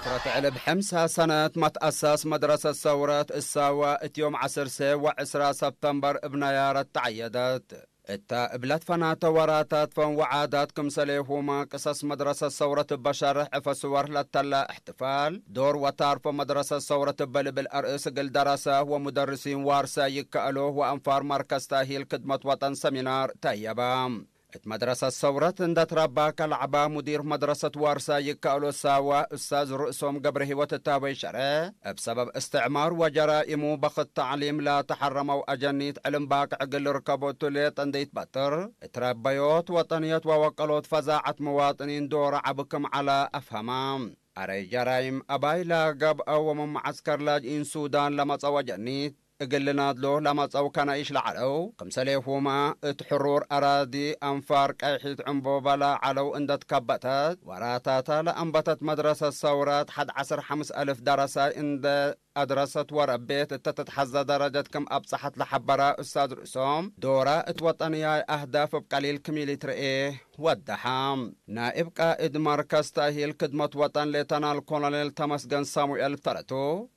فترة علب حمص سنة متأسس مدرسة ثورة الساوة اتيوم عسر سي وعسرة سبتمبر ابنيارة تعيدت. እታ እብለት ፈናተ ወራታት ፈን ወዓዳት ክምሰሌ ሁማ ቅሰስ መድረሰት ሰውረት በሸርሕ ዕፈ ስወር ለተላ እሕትፋል ዶር ወታርፎ መድረሰት ሰውረት በልብል ኣርእስ እግል ደረሰ ወሙደርሲን ዋርሰ ይከኣሎ ወኣንፋር ማርከስ ታሂል ክድመት ወጠን ሰሚናር ተየባ። እት መድረሰት ሰውረት እንደ ትረባ ከለዕባ ሙዲር መድረሰት ዋርሳ ይከኣሎ ሳዋ እሳዝ ርእሶም ገብረ ህይወት እታበይ ሸረ እብ ሰበብ እስትዕማር ወጀራኢሙ በኽት ተዕሊም ላተሐረመው ኣጀኒት ዕልም ባቅዕ ግል ርከቦቱ ሌጥ እንደ ይትበጥር እትረበዮት ወጠንየት ወወቀሎት ፈዛዐት መዋጥኒን ዶረ ዓብክም ዓላ ኣፍሀማ። ኣረይ ጀራይም ኣባይ ላገብአ ወመመዓስከር ላጅኢን ሱዳን ለመጸወ ጀኒት እግል ናድሎ ለመጸው ከናይሽ ለዓለው፣ ክምሰሌሁማ እት ሕሩር ኣራዲ ኣንፋር ቀይሒት ዕንቦባ ለዓለው እንደትከበተት፣ ወራታታ ለአንበተት መድረሰት ሰውራት ሐድ ዐስር ሐምስ አልፍ ደረሳይ እንደ ኣድረሰት ወረቤት እተ ትትሐዘ ደረጀት ክም ኣብጸሐት ለሐበራ ኡስታዝ ርእሶም፣ ዶራ እት ወጠንያይ አህዳፍ እብ ቀሊል ክም ኢሊትርኤ ወደሓ። ናኢብ ቃእድ መርከዝ ተእሂል ክድመት ወጠን ሌተናል ኮሎኔል ተመስገን ሳሙኤል ተረቱ፣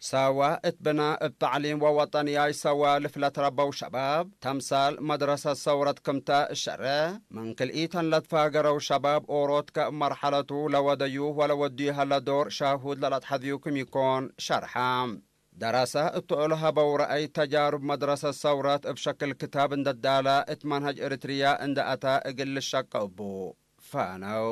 ሰዋ እት ብና እብ ተዕሊም ወወጠንያይ ሰዋ ልፍለት ረበው ሸባብ፣ ተምሳል መድረሰት ሰውረት ክምተ እሸረ፣ ምን ክልኢተን ለትፋገረው ሸባብ ኦሮት ከእብ መርሐለቱ ለወደዩ ወለወድዩ ሀለ ዶር ሻሁድ ለለትሐዝዩ ክም ይኮን ሸርሐ። ደረሰ እትኦል ሀበው ረአይ ተጃሩብ መድረሰት ሰውረት እብ ሸክል ክታብ እንደ ዳላ እት መንሀጅ እርትርያ እንደ አታ እግል ልሸቀ እቡ ፋነው።